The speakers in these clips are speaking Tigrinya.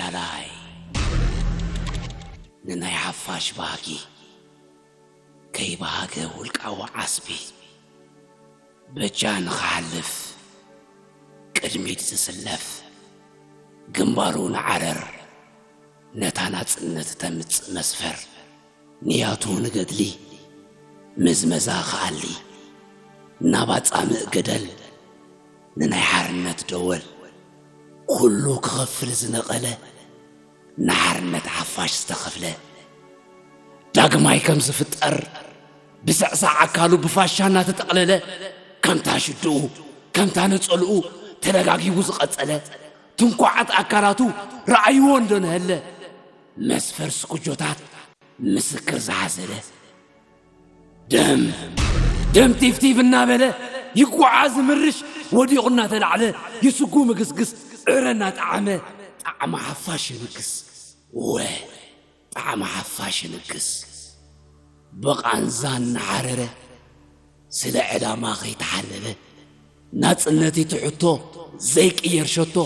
ተጋዳላይ ንናይ ሓፋሽ ባህጊ ከይበሃገ ውልቃዊ ዓስቢ በጃ ንኽሓልፍ ቅድሚት ዝስለፍ ግንባሩ ንዓረር ነታ ናጽነት ተምጽእ መስፈር ንያቱ ንገድሊ ምዝመዛ ክኣሊ ናብ ኣጻምእ ገደል ንናይ ሓርነት ደወል ኩሉ ክኸፍል ዝነቐለ ንሓርነት ሓፋሽ ዝተኸፍለ ዳግማይ ከም ዝፍጠር ብስዕሳዕ ኣካሉ ብፋሻ እናተጠቕለለ ከምታ ሽድኡ ከምታ ነጸልኡ ተደጋጊቡ ዝቐጸለ ትንኳዓት ኣካላቱ ረኣይዎ እንዶ ነሀለ መስፈር ስኩጆታት ምስክር ዝሓዘለ ደም ደም ቲፍቲፍ እናበለ ይጓዓዝ ምርሽ ወዲቑ እናተላዕለ ይስጉ ምግስግስ ዕረ እናጠዓመ ጣዕሚ ሓፋሽ ይንግስ ወ ጣዕሚ ሓፋሽ ይንግስ ብቓንዛ እናሓረረ ስለ ዕላማ ከይተሓለለ ናጽነት እቲ ሕቶ ዘይቅየር ሸቶ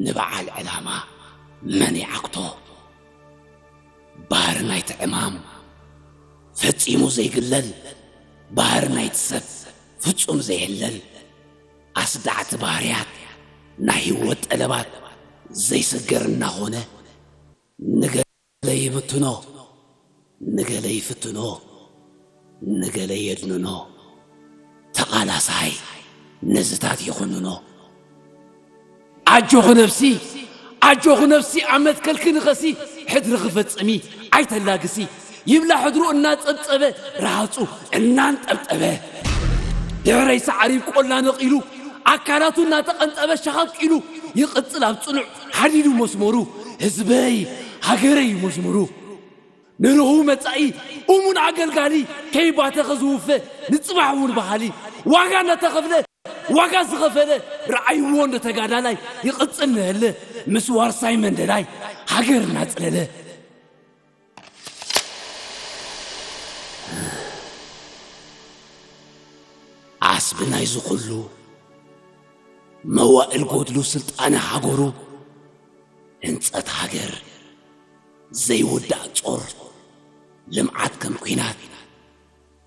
ንበዓል ዕላማ መን ይዓግቶ ባህሪ ናይቲ ዕማም ፈጺሙ ዘይግለል ባህሪ ናይቲ ሰብ ፍጹም ዘይሕለል ኣስዳዕቲ ባህርያት ናይ ህይወት ጠለባት ዘይስገር እናኾነ ንገለ ይብትኖ ንገለ ይፍትኖ ንገለ የድንኖ ተቓላሳይ ነዝታት ይኹንኖ ኣጆኺ ነብሲ ኣጆኺ ነብሲ ኣብ መትከልኪ ንኸሲ ሕድሪ ክፈጽሚ ኣይተላግሲ ይብላ ሕድሩ እናጸብጸበ ረሃጹ እናንጠብጠበ ድሕረይ ሳዕሪ ቆላ ነቒሉ ኣካላቱ እናተቐንጠበ ሸኸቅ ኢሉ ይቕጽል ኣብ ጽኑዕ ሓዲዱ መስመሩ ህዝበይ ሃገረይ እዩ መዝሙሩ ንርሁው መጻኢ እሙን ኣገልጋሊ ከይባተኸ ዝውፈ ንጽባሕ እውን በሃሊ ዋጋ እናተኸፍለ ዋጋ ዝኸፈለ ረኣይዎ እንደ ተጋዳላይ ይቕጽል ንህለ ምስ ዋርሳይ መንደላይ ሃገር እናጽለለ ዓስቢ ናይዚ ኩሉ መዋእል ጎድሉ ስልጣነ ሃገሩ ህንጸት ሃገር ዘይውዳእ ጾር ልምዓት ከም ኲናት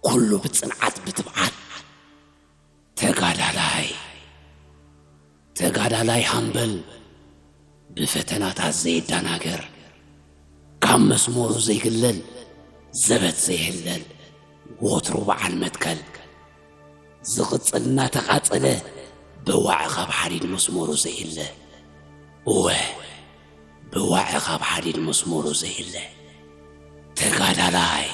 ኩሉ ብጽንዓት ብትብዓት ተጋዳላይ ተጋዳላይ ሃምበል ብፈተናታት ዘይዳናገር ካብ መስመሩ ዘይግለል ዘበት ዘይሕለል ወትሩ በዓል መትከል ዝቕጽል እናተቓጸለ ብዋዕ ካብ ሓዲድ መስመሩ ዘይለ እወ ብዋዕ ካብ ሓዲድ መስመሩ ዘይለ ተጋዳላይ